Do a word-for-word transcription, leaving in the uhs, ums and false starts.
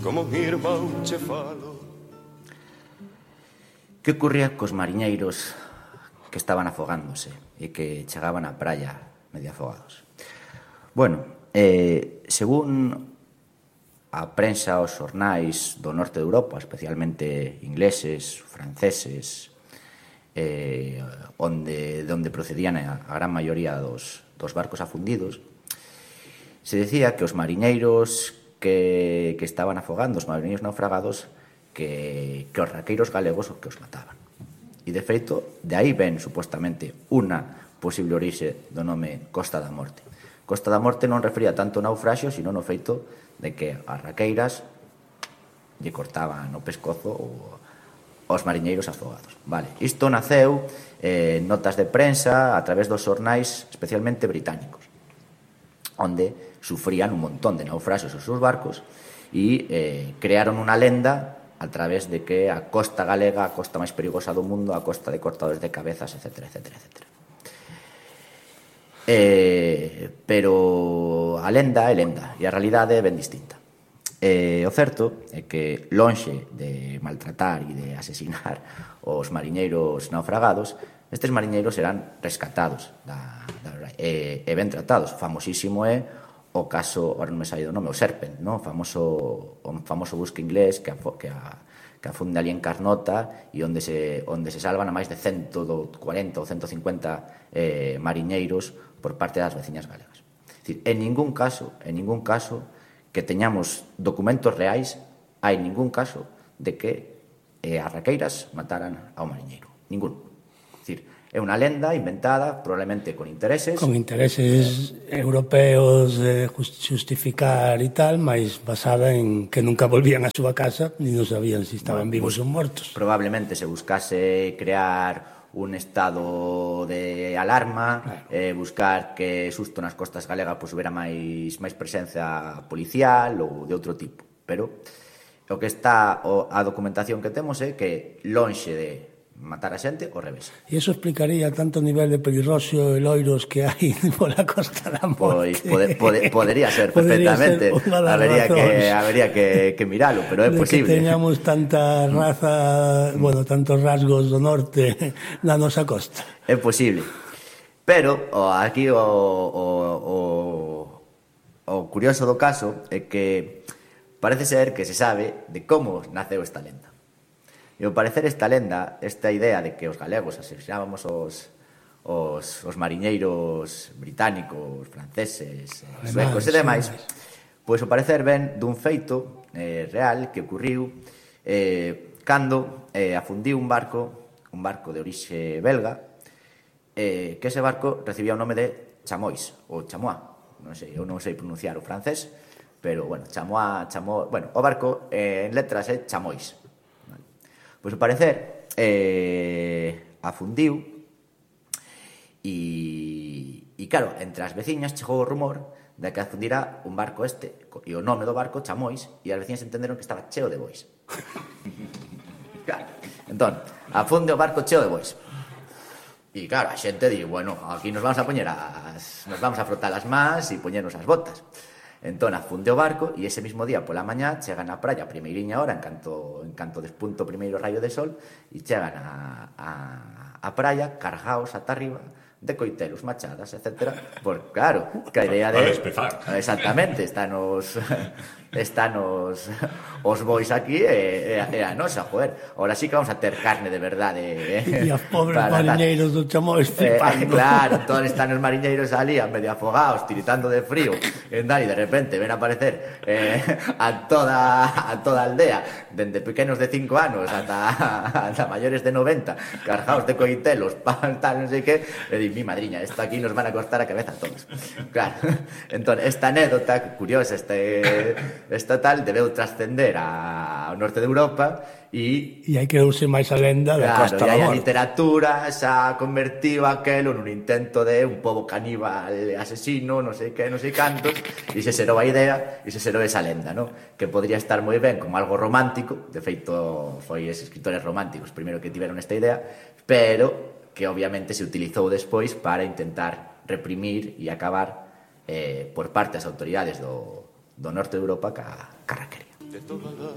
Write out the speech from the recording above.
como un irmão che falo. Que ocurría cos mariñeiros que estaban afogándose e que chegaban á praia medio afogados? Bueno, eh, según a prensa, os xornais do norte de Europa, especialmente ingleses, franceses, eh, onde, de onde procedían a, a gran maioría dos, dos barcos afundidos, se decía que os mariñeiros que, que estaban afogando, os mariñeiros naufragados, que, que os raqueiros galegos o que os mataban. E, de feito, de aí ven, supostamente, unha posible orixe do nome Costa da Morte. Costa da Morte non refería tanto ao naufraxio, sino no feito de que as raqueiras lle cortaban o pescozo aos mariñeiros afogados. Vale. Isto naceu eh, notas de prensa a través dos xornais, especialmente británicos, onde sufrían un montón de naufraxios os seus barcos e eh, crearon unha lenda a través de que a costa galega, a costa máis perigosa do mundo, a costa de cortadores de cabezas, etcétera, etcétera, etcétera. Eh, pero a lenda é lenda e a realidade é ben distinta. Eh, o certo é que, lonxe de maltratar e de asesinar os mariñeiros naufragados, estes mariñeiros eran rescatados da, da, e, e ben tratados. Famosísimo é o caso, ahora non me saído o nome, o Serpent, no? o famoso o famoso busca inglés que, que, a, que afunde ali en Carnota e onde se, onde se salvan a máis de ciento cuarenta ou ciento cincuenta eh, mariñeiros por parte das veciñas galegas. É dicir, en ningún caso, en ningún caso que teñamos documentos reais, hai ningún caso de que eh, as raqueiras mataran ao mariñeiro. Ningún. É dicir, é unha lenda inventada, probablemente con intereses... Con intereses eh, europeos de justificar e tal, mas basada en que nunca volvían a súa casa, ni non sabían se si estaban bueno, vivos ou mortos. Probablemente se buscase crear un estado de alarma, claro. eh, buscar que susto nas costas galegas pues, hubiera máis, máis presencia policial ou de outro tipo. Pero o que está, o, a documentación que temos é que lonxe de matar a xente, o revés. E iso explicaría tanto nivel de pelirroxo e loiros que hai pola Costa da Morte. Pois pode, pode, podería ser perfectamente. Habería que, habería que, que miralo, pero é de posible. Que teñamos tanta raza, mm. bueno, tantos rasgos do norte na nosa costa. É posible. Pero o, aquí o, o, o, o curioso do caso é que parece ser que se sabe de como naceu esta lenda. E ao parecer esta lenda, esta idea de que os galegos asesinábamos os, os, os mariñeiros británicos, franceses, suecos e demais, pois ao parecer ven dun feito eh, real que ocurriu eh, cando eh, afundiu un barco, un barco de orixe belga, eh, que ese barco recibía o nome de Chamois, ou Chamois, non sei, eu non sei pronunciar o francés, pero, bueno, Chamois, Chamois, bueno, o barco eh, en letras é Chamois. Pois, ao parecer, eh, afundiu e, e, claro, entre as veciñas chegou o rumor de que afundira un barco este, e o nome do barco, Chamois, e as veciñas entenderon que estaba cheo de bois. Claro, entón, afunde o barco cheo de bois. E, claro, a xente di, bueno, aquí nos vamos a poñer as... nos vamos a frotar as mans e poñernos as botas. Entón, afunde o barco e ese mismo día pola mañá chegan á praia a primeiriña hora en canto, en canto despunto o primeiro rayo de sol e chegan a, a, a praia cargaos ata arriba de coitelos, machadas, etcétera. Por, claro, que a idea de... Exactamente, están os... están os... os bois aquí e, e a nosa, joder. Ahora sí que vamos a ter carne de verdade. Eh? E os pobres mariñeiros do Chamois flipando. Eh, claro, todos están os mariñeiros ali a medio afogados, tiritando de frío. E de repente ven a aparecer eh, a toda a toda a aldea, dende pequenos de cinco anos ata, ata maiores de noventa, cargados de coitelos, tal, non sei que, e di, mi madriña, esto aquí nos van a cortar a cabeza a todos. Claro, entón, esta anécdota curiosa, este, esta tal, debeu trascender ao norte de Europa e... E hai que usar máis a lenda da claro, Costa da Morte. E a literatura xa convertiu aquelo nun intento de un pobo caníbal asesino, non sei que, non sei cantos, e se serou a idea, e se serou esa lenda, non? Que podría estar moi ben como algo romántico, de feito, foi eses escritores románticos primeiro que tiveron esta idea, pero que obviamente se utilizou despois para intentar reprimir e acabar eh, por parte das autoridades do, do norte de Europa ca, ca raquería. de toda la